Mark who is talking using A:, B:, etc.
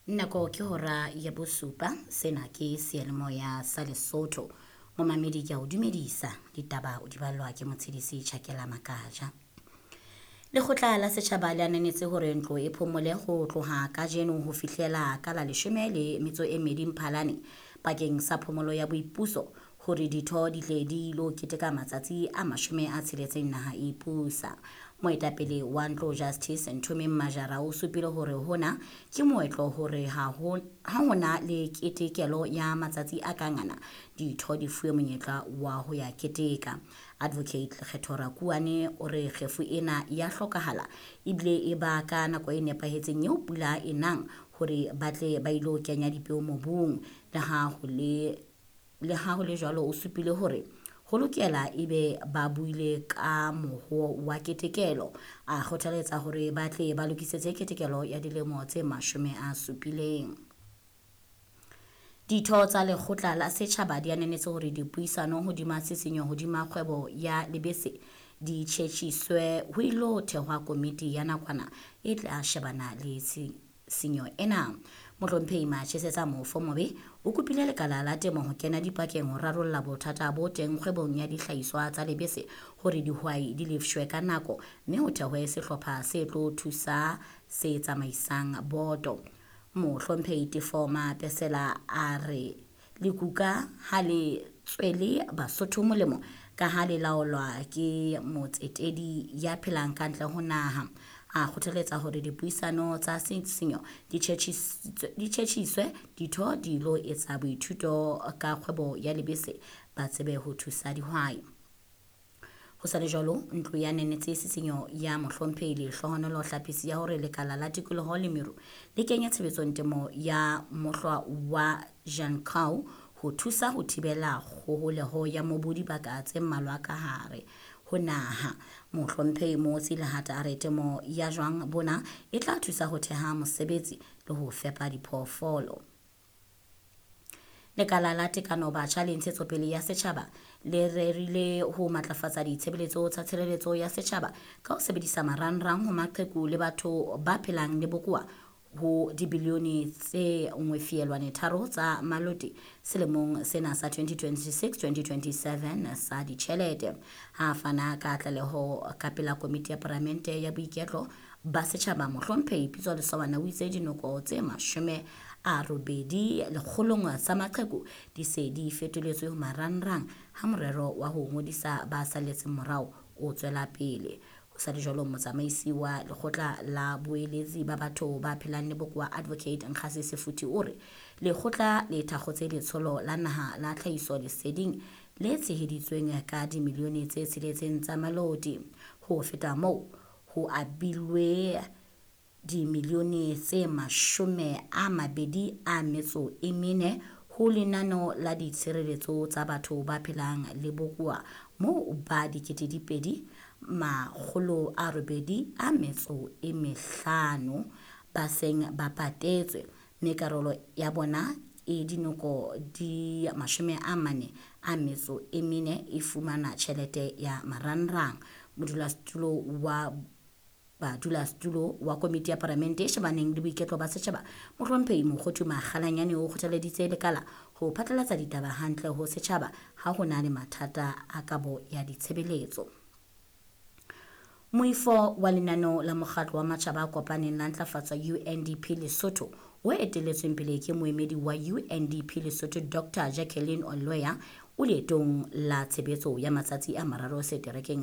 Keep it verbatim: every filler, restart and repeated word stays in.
A: Nako ke hora ya bosupa. Sena ke seyalemoya sa Lesotho. Momamedi, ke a o dumedisa. Ditaba o di ballwa ke Motshedisi Tjhakela Makaja. Lekgotla la setjhaba le ananetse hore ntlo e phomole ho tloha kajeno ho fihlela ka la leshome le metso e mmedi Mphalane bakeng sa phomolo ya boipuso, hore ditho di tle di ilo keteka matsatsi a mashome a tsheletseng naha e ipusa. Moetapele wa ntlo, Justice Nthomeng Majara, o supile hore hona ke moetlo hore ha ho ha hona le ketekelo ya matsatsi a kang ana, ditho di fuwe monyetla wa ho ya keteka. Advocate Lekgetho Rakuane o re kgefu ena ya hlokahala ebile e ba ka nako e nepahetseng eo pula e nang, hore ba tle ba ilo kenya dipeo mobung. Le ha ho le le ha ho le jwalo, o supile hore ho lokela ebe ba buile ka mohoo wa ketekelo. A kgothaletsa hore ba tle ba lokisetse ketekelo ya dilemo tse mashome a supileng. Ditho tsa lekgotla la setjhaba di ananetse hore dipuisano hodima tshisinyo hodima kgwebo ya lebese di tjhetjhiswe, ho ilo thehwa komiti ya nakwana e tla shebana le tshisinyo ena. Mohlomphehi Machesetsa Mofomobe o kopile lekala la temo ho kena dipakeng ho rarolla bothata bo teng kgwebong ya dihlahiswa tsa lebese, hore dihwai di lefshwe ka nako, mme ho thehwe sehlopha se tlo thusa se tsamaisang boto. Mohlomphehi Tefo Mapesela a re lekuka ha le tswele Basotho molemo ka ha le laolwa ke motsetedi ya phelang ka ntle ho naha. A kgothaletsa hore dipuisano tsa tshisinyo di tjhetjhiswe, ditho di ilo etsa boithuto ka kgwebo ya lebese, ba tsebe ho thusa dihwai. Ho sa le jwalo, ntlo ya nenetse tshisinyo ya mohlomphehi Lehlohonolo Hlapisi ya hore lekala la tikoloho le meru le kenye tshebetsong temo ya mohlwa wa Jankau ho thusa ho thibela kgoholeho ya mobu dibaka tse mmalwa ka hare ho naha. Mohlomphehi Motsi Lehata a re temo ya jwang bona e tla thusa ho theha mosebetsi le ho fepa diphoofolo. Lekala la Tekano, Batjha le Ntshetsopele ya Setjhaba le rerile ho matlafatsa ditshebeletso tsa tshireletso ya setjhaba ka ho sebedisa marangrang ho maqheku le batho ba phelang le bokowa ho dibilione tse nngwe feelwane tharo tsa maloti selemong sena sa twenty twenty-six twenty twenty-seven sa ditjhelete. Ha fana ka tlaleho ka pela komiti ya palamente ya boiketlo ba setjhaba, mohlomphehi Pitso Lesowana o itse dinoko tse mashome a robedi lekgolong tsa maqheku di se di fetoletswe ho marangrang ha morero wa ho ngodisa ba salletseng morao o tswela pele. Ho sa le jwalo, motsamaisi wa lekgotla la boeletsi ba batho ba phelang le bokowa, Advocate Nkgase Sefuthi, o re lekgotla le thakgotse letsholo la naha la tlhahiso leseding le tsheheditsweng ka dimilione tse tsheletseng tsa maloti. Ho feta moo, ho abilwe dimilione tse mashome a mabedi a metso e mene ho lenaneo la ditshireletso tsa batho ba phelang le bokowa, moo ba dikete di pedi makgolo a robedi a metso e mehlano ba seng ba patetswe, mme karolo ya bona e dinoko di mashome a mane a metso e mene e fumana tjhelete ya marangrang. Modulasetulo wa badulasetulo wa komiti ya palamente e shebaneng le boiketlo ba setjhaba, mohlomphehi Mokgothu Makgalanyane, o kgothaleditse lekala ho phatlalatsa ditaba hantle ho setjhaba ha ho na le mathata a kabo ya ditshebeletso. Moifo wa lenaneo la mokgatlo wa matjhaba a kopaneng la ntlafatso, U N D P Lesotho, o etelletsweng pele ke moemedi wa U N D P Lesotho, Doctor Jacqueline Oloya, o leetong la tshebetso ya matsatsi a mararo seterekeng.